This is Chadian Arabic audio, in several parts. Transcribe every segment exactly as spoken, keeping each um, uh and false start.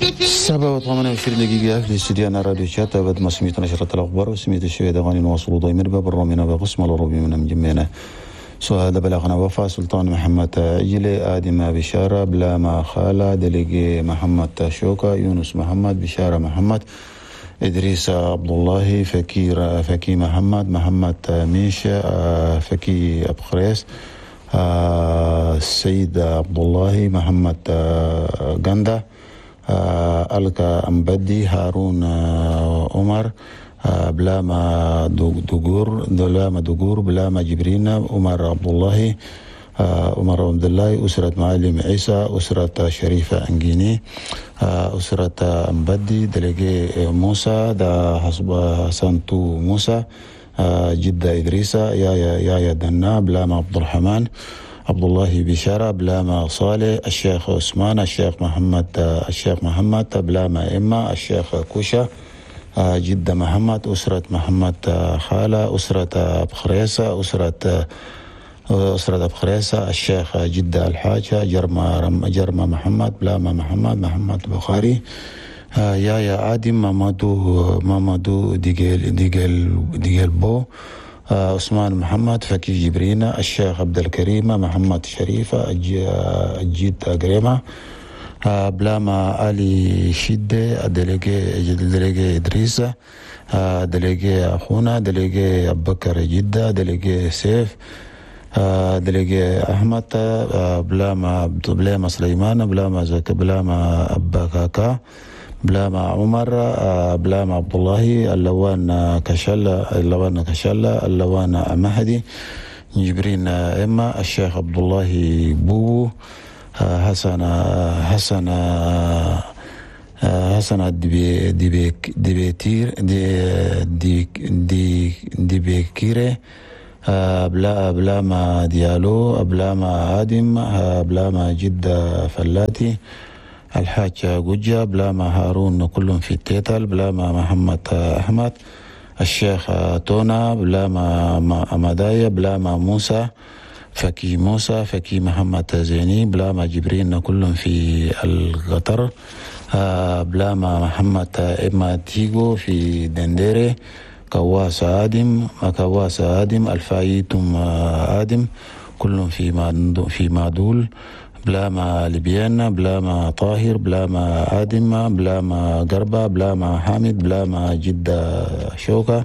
سبعة وثمانية وعشرين دقيقة في استديو راديو شات بعد ما سميت نشرة الأخبار وسميت الشوية غاني نواصل ضيمر باب الرومينا بقسم الروبي من مجمعنا. سو هذا بلغنا وفاة سلطان محمد عجلي، آدم بشارة، بلاما خالة، دليجي محمد شوكا، يونس محمد، بشارة محمد، إدريس عبد الله، فكير فكي محمد، محمد ميشا، فكي أبخريس، السيد عبد الله، محمد غندا، ألكا أمبدي، هارون عمر، بلاما دقور، بلاما دقور، بلاما جبرين، عمر عبد الله، عمر عبد الله، أسرة معلم عيسى، أسرة شريفة أنجيني، أسرة أمبدي، دلقي موسى، دا حسب سانتو موسى، جدة إدريسة، يا يا يا دنا، بلاما عبد الرحمن، عبد الله بشارة، بلاما صالح، الشيخ عثمان، الشيخ محمد، الشيخ محمد، بلاما إما، الشيخ كوشة، جدة محمد، أسرة محمد خالة، أسرة أبخريسة، أسرة أسرة أبخريسة، الشيخ جدة الحاجة، جرما جرما محمد، بلاما محمد، محمد بخاري، يا يا آدم، مامادو مامادو ديجيل ديجيل ديجيل بو، عثمان محمد، فكي جبرينا، الشيخ عبد الكريم، محمد شريفة، الجيد أجريمة، بلاما علي شدة، دليجي دليجي إدريس، دليجي أخونا، دليجي أبو بكر جدة، دليجي سيف، دليجي أحمد، بلاما بلاما سليمان، بلاما زك، بلاما أبا كاكا، بلاما عمر، بلاما عبد الله، اللوان كشلة، اللوان كشلة، اللوان مهدي، جبرين إما، الشيخ عبد الله بوبو، حسن حسن حسن دبي دبي دبيتير دي دي دي دبيكيري، بلا بلاما ديالو، بلاما آدم، بلاما جدة فلاتي، الحاج جوجا، بلاما هارون كلهم في التيتل، بلاما محمد أحمد، الشيخ تونا، بلاما مدايا، بلاما موسى، فكي موسى، فكي محمد زيني، بلاما جبرين كلهم في القطر، بلاما محمد إما تيغو في دنديري، كواس آدم، كواس آدم، الفايتم آدم كلهم في في معدول، بلاما لبيان، بلاما طاهر، بلاما آدم، بلاما قربة، بلاما حامد، بلاما جدة شوكة،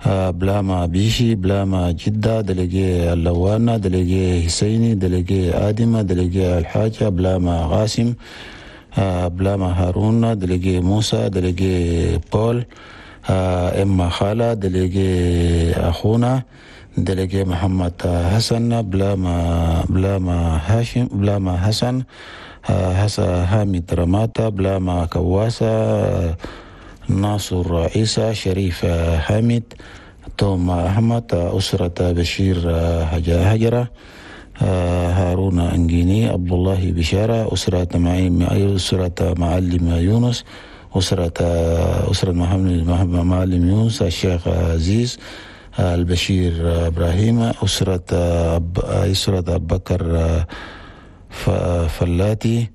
بلاما بيشي، بلاما جدة، دلقي اللوانا، دلقي حسيني، دلقي آدم، دلقي الحاجة، بلاما غاسم، بلاما هارون، دلقي موسى، دلقي بول، إما خالة، دلقي أخونا، دلقي محمد حسن، بلاما بلاما هاشم، بلاما حسن، حسن حامد رماتا، بلاما كواسة، ناصر عيسى، شريف حامد، توم أحمد، أسرة بشير هجرة، هارون أنجيني، عبد الله بشارة، أسرة معلم أسرة معلم يونس، أسرة أسرة محمد معلم يونس، الشيخ عزيز، البشير إبراهيم، أسرة أسرة أبو بكر فلاتي،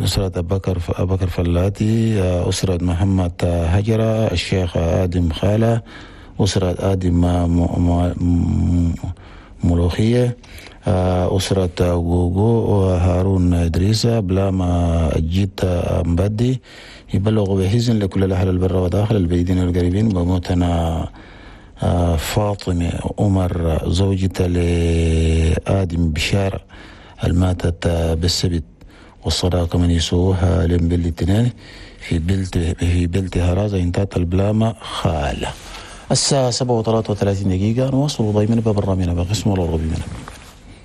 أسرة أبو بكر أبو بكر فلاتي، أسرة محمد هجرة، الشيخ آدم خالة، أسرة آدم ملوخية، أسرة جوجو وهارون إدريسة، بلاما جيت مبدي. يبلغ بحزن لكل الأهل البر وداخل البعيدين والقريبين بموتنا فاطمة عمر زوجة لآدم بشارة الماتت بالسبت، والصداقة من يسوها لم بالاثنين في بلت في بلت هرازة انتات البلامة خالة. الساعة سبعة وثلاثة وثلاثين دقيقة نواصل ضيمنا باب الرامينا بقسم الربي.